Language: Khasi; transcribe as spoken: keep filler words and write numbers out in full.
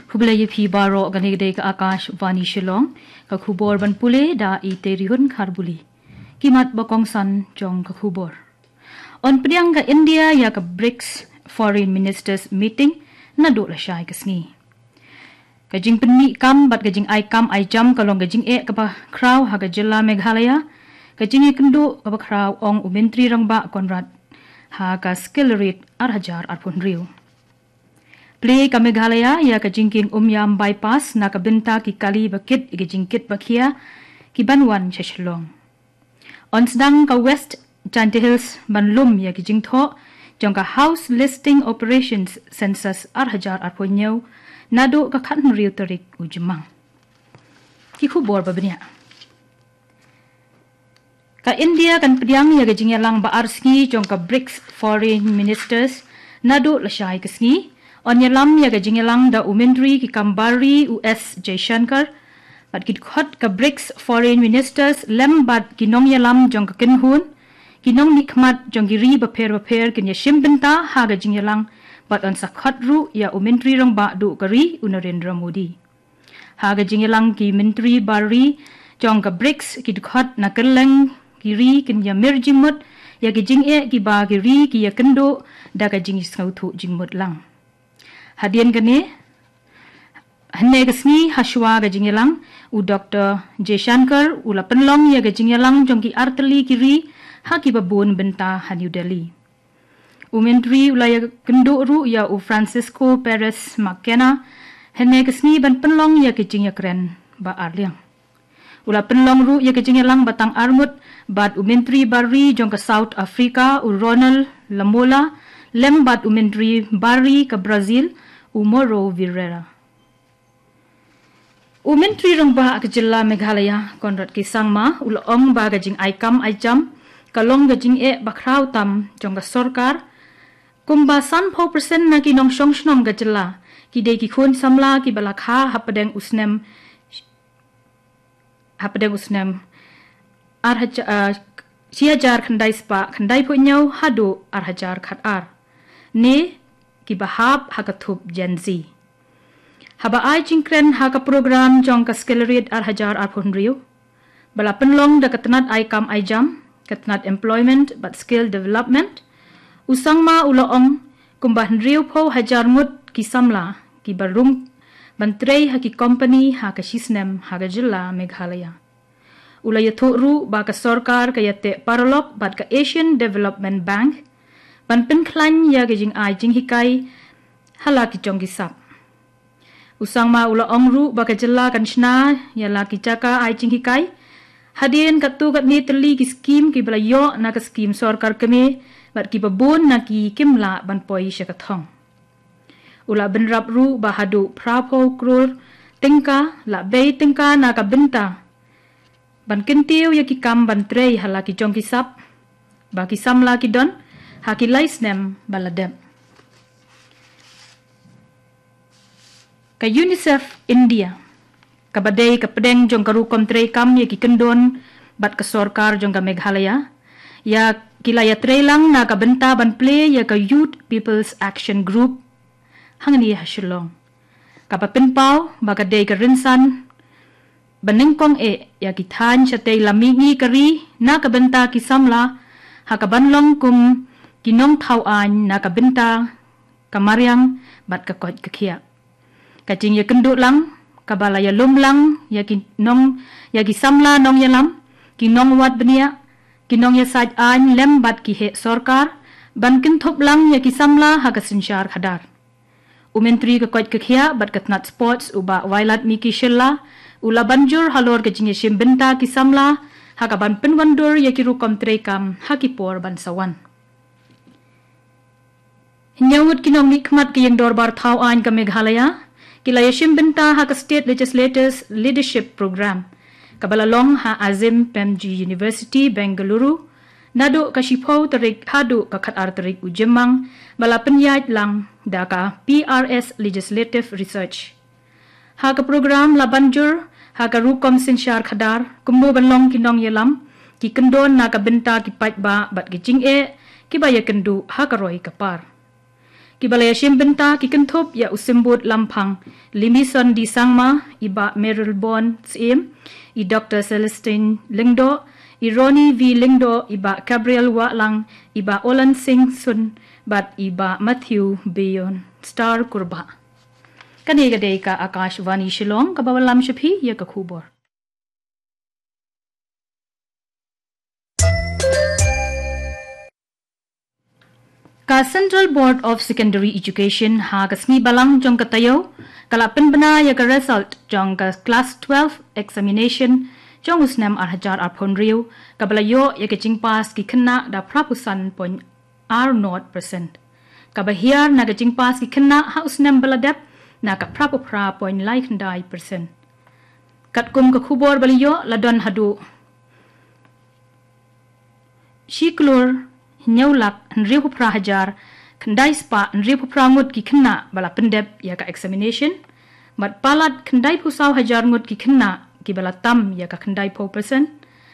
Khublei ïa phi baroh, kane ka dei ka Akashvani Shillong, ka khubor ban pule da i Terihun Kharbuli. Ki mat ba kongsan jong ka khubor. Yn pdiang ka India ïa ka BRICS Foreign Ministers Meeting naduh lashai ka sngi. Ka jingpynmih kam bad ka jingai kam ai jam ka long ka jingeh kaba khraw ha ka jylla Meghalaya, ka jingïakynduh kaba khraw, ong u Myntri Rangbah Conrad ha ka Skill Raid ar hajar arphew hynriew. Plie ka Meghalaya ïa ka jingkieng Umiam Bypass na ka bynta ki kali ba kit ïa ka jingkit ba khia ki ban wan sha Shillong. Yn sdang ka West Jaintia Hills ban lum ïa ki jingthoh jong ka House Listing Operations Census ar hajar arphew hynñiew naduh ka khathynriew tarik u Jymmang. Ki khubor ba bniah. Ka India kan pdiang ïa ka jingïalang ba ar sngi jong ka BRICS Foreign Ministers naduh lashai ka sngi. Yn ïalam ïa ka jingïalang da u Myntri ki kam bar ri u S Jaishankar, bad ki dkhot ka BRICS Foreign Ministers lem bad ki nongïalam jong ka kynhun, ki nongmihkhmat jong ki ri bapher bapher kin ïashim bynta ha ka jingïalang, bad yn sa khot ruh ïa u Myntri Rangbah duh ka ri u Narendra Modi. Ha ka jingïalang ki myntri bar ri jong ka BRICS, ki dkhot na kylleng ki ri kin ïamir jingmut ïa ki jingeh kiba ki ri ki ïakynduh da ka jingsngewthuh jingmut lang. Hadien kane, hynne ka sngi hashwa ka jingïalang, u Doktor Jaishankar u la pynlong ïa ka jingïalang jong ki artylli ki ri ha kiba bun bynta ha New Delhi. U Myntri u la ïakynduh ruh ïa u Francisco Perez Mackenna hynne ka sngi ban pynlong ïa ka jingïakren ba ar liang. U la pynlong ruh ïa ka jingïalang ba tang ar ngut bad u Myntri bar ri jong ka South Africa u Ronald Lamola, lem bad u Myntri bar ri ka Brazil u Mauro Vieira. U Myntri Rangbah ka jylla Meghalaya, Conrad K Sangma, u la ong ba ka jingai kam ai jam ka long ka jingeh ba khraw tam jong ka sorkar. Kumba sanphew percent na ki nongshong shnong ka jylla ki dei ki khun samla kiba la kha hapdeng u snem, hapdeng u snem ar hajar, ah, shi hajar khyndai spah khyndaiphew hynñiew haduh ar hajar khatar, ne kiba hap ha ka thup Gen Z. Haba ai jingkren ha ka program jong ka Skill Raid ar hajar arphew hynriew, ba la pynlong da ka tnat ai kam ai jam, ka tnat Employment bad Skill Development, u Sangma u la ong kumba hynriewphew hajar ngut ki samla kiba rung ban trei ha ki kompani ha ka shisnem ha ka jylla Meghalaya. U la ïathuh ruh ba ka sorkar ka ïateh paralok bad ka Asian Development Bank ban pynkhlaiñ ïa ka jingai jinghikai ha la ki jong ki sap. U Sangma u la ong ruh ba ka jylla kan shna ïa la ki jaka ai jinghikai hadien katto katne tylli ki skim kiba la ïoh na ka skim sorkar kmie, bad kiba bun na ki kim lah ban poi sha ka thong. U la bynrap ruh ba haduh phraphew klur tyngka la bei tyngka na ka bynta ban kyntiew ïa ki kam ban trei ha la ki jong ki sap ba ki samla ki don ha ki lai snem ba la dep. Ka UNICEF India, kaba dei ka pdeng jong ka rukom treikam ïa ki kyndon bad ka sorkar jong ka Meghalaya, ïa ki la ïatreilang na ka bynta ban plie ïa ka Youth People's Action Group hangne ha Shillong, kaba pynpaw ba ka dei ka rynsan ba nyngkong eh ïa ki thaiñ shatei lam mihngi ka ri na ka bynta ki samla, ha kaban long kum ki nongthaw aiñ na ka bynta ka mariang bad ka koit ka khiah. Ka jingïakynduh lang kaba la ïalum lang ïa ki nong, ïa ki samla nongïalam, ki nongwad bniah, ki nongïasaid aiñ lem bad ki heh sorkar ban kynthup lang ïa ki samla ha ka synshar khadar. U Myntri ka koit ka khiah bad ka tnat sports u Bah Wailadmiki Shylla u la ban jur halor ka jingïashim bynta ki samla ha kaban pynwandur ïa ki rukom treikam ha ki por ban sa wan. Hynñiew ngut ki nongmihkhmat ka ïing dorbar thaw aiñ ka Meghalaya ki la ïashim bynta ha ka State Legislators Leadership Program, kaba la long ha Azim Premji University, Bengaluru, naduh ka shiphew tarik haduh ka khatar tarik u Jymmang, ba la pynïaid lang da ka P R S Legislative Research. Ha ka program la ban jur ha ka rukom synshar khadar kumno ban long ki nongïalam, ki kyndon na ka bynta ki paidbah bad ki jingeh kiba ïakynduh ha ka roi ka par. Kiba la ïashim bynta ki kynthup ïa u Symbud Lamphang, Limison D Sangma, i Bah Merylbone Syiem, i Dr Celestine Lyngdoh, i Ronnie V Lyngdoh, i Bah Gabriel Wahlang, i Bah Olan Singh Sun, bad i Bah Matthew Beyondstar Kurbah. Kane ka dei ka Akashvani Shillong, kaba wallam sha phi ïa ka khubor. Ka Central Board of Secondary Education ha ka sngi Balang jong ka taïew ka la pynbna ïa ka result jong ka Class twelve examination jong u snem ar hajar arphew hynriew, kaba la ïoh ïa ka jingpass ki khynnah da phraphew san point ar nod percent, kaba hiar na ka jingpass ki khynnah ha u snem ba la dep na ka phraphew phra point lai khyndai percent. Katkum ka khubor ba la ïoh, la don haduh shi klur hynñiew lak hynriewphew phra hajar khyndai spah hynriewphew phra ngut ki khynnah ba la pyndep ïa ka examination, bad palat khyndaiphew saw hajar ngut ki khynnah kiba la tam ïa ka khyndaiphew percent,